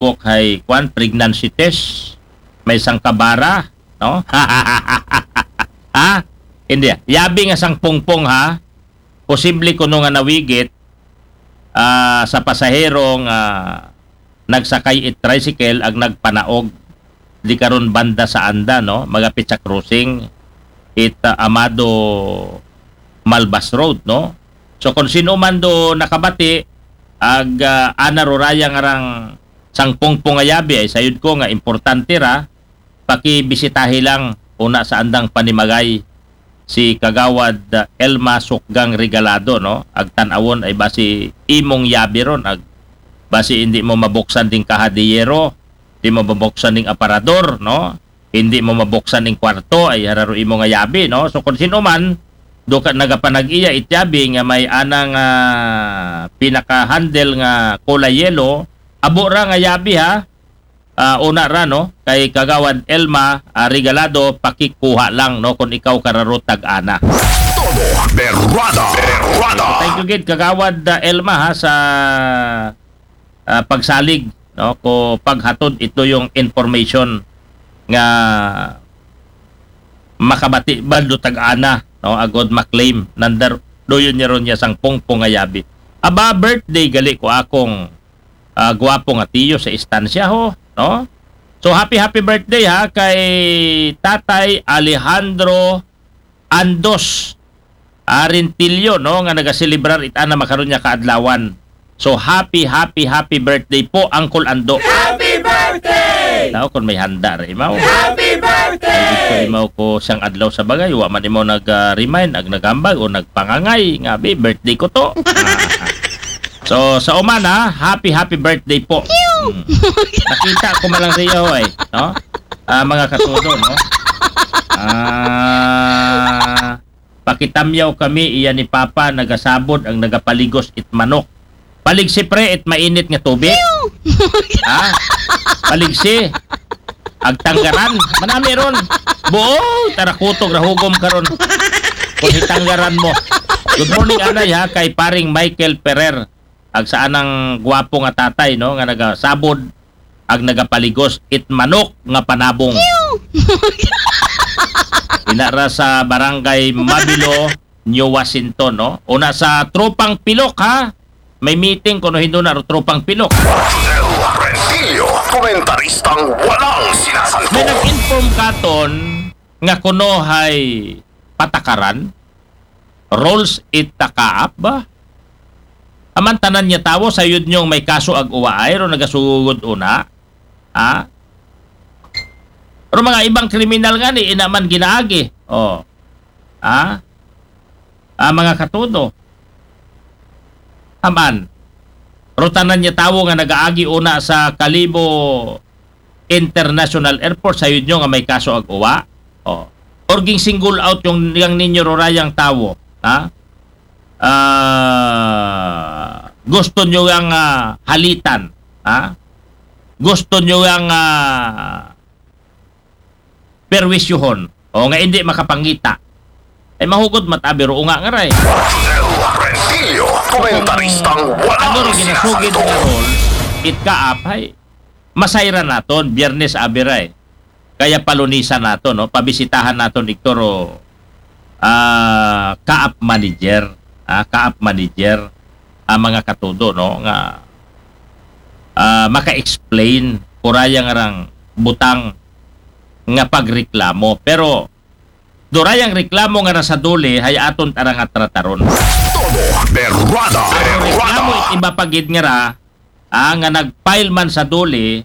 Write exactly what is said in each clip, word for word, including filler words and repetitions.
nagpukpok hay, kwan, pregnancy test. May sangkabara, no? Ha? Hindi. Yabi nga sangpungpong, ha? Posible kuno nga nawigit, ah, sa pasahero nga nagsakay it tricycle ag nagpanaog di karon banda sa anda, no? Magapit sa crossing it, ah, Amado Malbas Road, no? So, kung sino man do nakabati, ag, ah, ana ruraya nga rang sangpungpong nga yabi, ay sayod ko nga importante ra, pakibisitahi lang una sa andang panimagay si Kagawad, ah, Elma Sukgang Regalado, no? Ag tan-awon ay basi imong yabi ron, ag basi hindi mo mabuksan ding kaha de yero, di mo mabuksan ding aparador, no? Hindi mo mabuksan ding kwarto, ay hararo imo nga yabi, no? So, kung sino man, do ka nagapanag-iya it yabi nga may anang, ah, pinaka-handle nga kulay yelo, abo ra nga yabi, ha? Ah, una ra, no? Kay Kagawad Elma, ah, Regalado, pakikuha lang, no? Kung ikaw kararotag ana. Todo Berrada. Berrada. Thank you gid, Kagawad, ah, Elma, ha, sa, ah, pagsalig, no? Ko paghatod ito yung information nga makabati bando tag ana, no? Agod maklaim nandar doyon niya ron niya sang pungpong nga yabi. Aba, birthday gali ko akong, ah, gwapo nga tiyo sa istansya ho, no? So, happy, happy birthday, ha, kay Tatay Alejandro Andos Arintillo, no, nga nagaselebrar it ana makaron niya kaadlawan. So, happy, happy, happy birthday po, Uncle Ando. Happy birthday! Tao, kung may handa ra imaw. Happy birthday! Ay, ito imaw ko siyang adlaw sa bagay. Wa man imaw nag-remind, ag naghambag o nagpangangay. Nga, bi, birthday ko to. Ah. So, sa umana, happy, happy birthday po. Hmm. Nakita ko man lang sa iyo, eh. No? Ah, mga katudo, no? Ah, pakitamyaw kami, iya ni Papa, nagasabod ang nagapaligos it manok. Paligsi, pre, it mainit nga tubig. Ha? Paligsi. Agtanggaran. Manami ron. Buo, tarakutog, rahugom karon. Kung hitanggaran mo. Good morning, anay, ha, kay paring Michael Ferrer. Ag sa anang gwapo nga tatay, no, nga nagasabod, ag nagapaligos, it manok nga panabong. Ina ra sa Barangay Mabilo, New Washington, no? Una sa Tropang Pilok, ha? May meeting kuno hindo na ro Tropang Pilok. Rodel Rentillo, komentaristang walang sinasanto. May nag-inform katon nga kuno hay patakaran, rules it kaap ba? Aman tanan niya tawo, sayod niyong may kaso ag uwa ay, ro nagasugod una. Ha? Ro mga ibang kriminal nga ni, ina man ginaagi. Oh. Ha? Ah, mga katudo. Aman. Ro tanan niya tawo nga nagaagi una sa Kalibo International Airport, sayod niyo nga may kaso ag uwa. Oh. Or ging single out yung, yung ninyo rurayang tawo. Ha? Ah, gusto nyo yang, ah, halitan, ha? Gusto nyo yang, ah, perwisyuhon, o nga hindi makapangita. Ay mahugod mat-abi ro unga nga ray. Rodel Rentillo, komentaristang walang ano ro ginasugid sinasanto. Nga role, it kaap, hay, masayra naton, Biyernes abi ray. Kaya palunisan naton, no? Pabisitahan naton, Hector, o, ah, kaap manager, ah, kaap manager, ang mga katudo, no? Nga, ah, maka-explain, kurayang arang butang nga pagreklamo. Pero, durayang reklamo nga nasa duli, hay aton tara nga trataron. Todo Berrada. Ang reklamo, Berrada. It iba pagid nga ra, ah, nga nag-file man sa duli,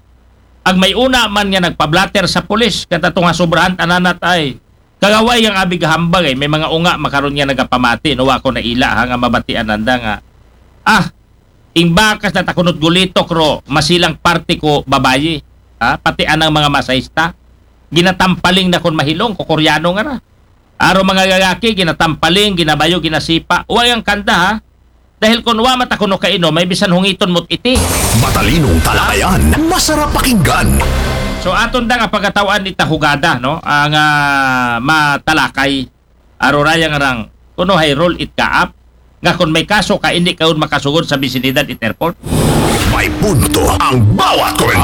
ag may una man nga nagpa-blotter sa pulis, kata tunga sobrahan tananat ay. Kagaway ang abi gahambag ay, may mga unga makaron nga nagapamati, no, wa ko naila, ha, nga mabatian nanda nga. Ah, ing bakas na takunot gulitok ro, masilang parte ko babayi, ha, pati anang mga masahista. Ginatampaling na kon mahilong, ko Koreano nga ra. Aro mga gagaki, ginatampaling, ginabayo, ginasipa. Wa yang kanda, ha? Dahil kung wa mata kuno kainom, may bisan hungiton mo't iti. Matalinong talakayan, masarap pakinggan. So, aton da nga pagkatawaan ita hugada, no? Ang, ah, matalakay, aruraya nga rang, kuno hay role it kaap, Nga kon may kaso ka, indi ka un makasugod sa bisinidad it airport. May punto ang bawat komentaryo.